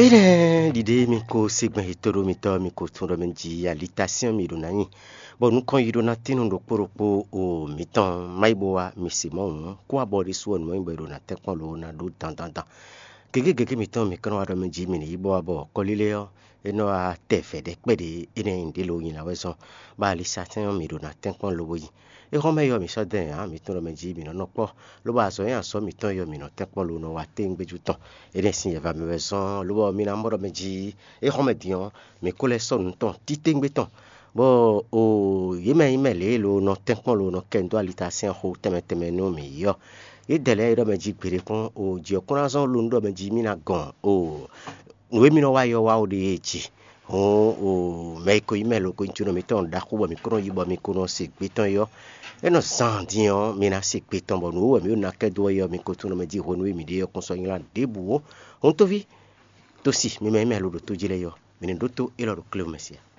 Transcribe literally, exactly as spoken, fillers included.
Énɛ́ ɖiɖe mi ko se gbɛn yetɔ́ ɖo mitɔ́ mi ko tún ɖɔ mɛ jí alitasɛ́n mi ɖo ná nyi, bɔ nukɔn yi ɖó ná tín nú ɖokpó ɖokpó o mǐtɔn má yi bó wá mi se Mawu kó wá bɔ ɖésú ɔ́ nǔ e bɔ è ɖo ná tɛ́nkpɔ́n lo ná ɖó dandandan. Gěgé gěgé mǐtɔn mǐ kɛ́n nɔ wá ɖɔ mɛ jí mi ní yi bó wá bɔ kɔlílé ɔ́ é nɔ wá tɛ vɛ̌ ɖɛkpɛ́ɖɛ énɛ́ nyi ɖě lo nyi ná wɛ zɔ́n, bɔ alisatɛ́n ɔ́ mǐ ɖo ná tɛ́nkpɔ́n lobo yi. É xɔ́n mɛ yɔ mǐ sɔ́ dɛn ǎ, mǐtɔn ɖɔ mɛ jí mǐ nɔ nɔ kpɔ́, lobɔ azɔ̌ e azɔ̌ mǐtɔn yɔ mǐ nɔ tɛ́nkpɔ́n lo nɔ wa téŋgbéjú tɔn. Énɛ́ sín yɛ̌va mɛ wɛ zɔ́n, lobɔ mi ná mɔ ɖɔ mɛ jí é xɔ́n mɛ din ɔ́, mǐ ko lɛ́ sɔ́ nǔ tɔn títéŋgbé tɔn, bɔ o yě mɛ nyí mɛ lě e lo nɔ tɛ́nkpɔ́n lo nɔ kɛ nǔ dó alitasɛ́n xo tɛnmɛ tɛnmɛ nú mǐ yi ɔ́, yědɛɛ lɛ́ɛ e ɖɔ mɛ jí gbeɖé kpɔ́n o jǐ ɔ́ kún ná zɔ́n lo nú ɖɔ mɛ jí mì ná gɔn o nǔ e mì nɔ wa yi ɔ́ wá o ɖe e ji. Hǔn o mɛ e ko nyí mɛ lo ko nyí jǒnɔ mǐtɔn ɖaxó bɔ mǐ ko nɔ yi bɔ mi ko nɔ se gbe tɔn é ɔ́, é nɔ zan din ɔ́, mi ná se gbe tɔn bɔ nǔ e wɛ mǐ ɖo ná kɛ dó wɛ é ɔ́, mi ko tunwun mɛ jí hwenu e mǐ ɖe ɔ́ kún sɔ́ nylá ɖěbǔ ó. Hǔn tóví, tósi mi mɛ nyí mɛ lo ɖo tó jí lɛ́ɛ é ɔ́, mǐ ní ɖótó élɔ́ ɖo kléwú mɛ se ǎ.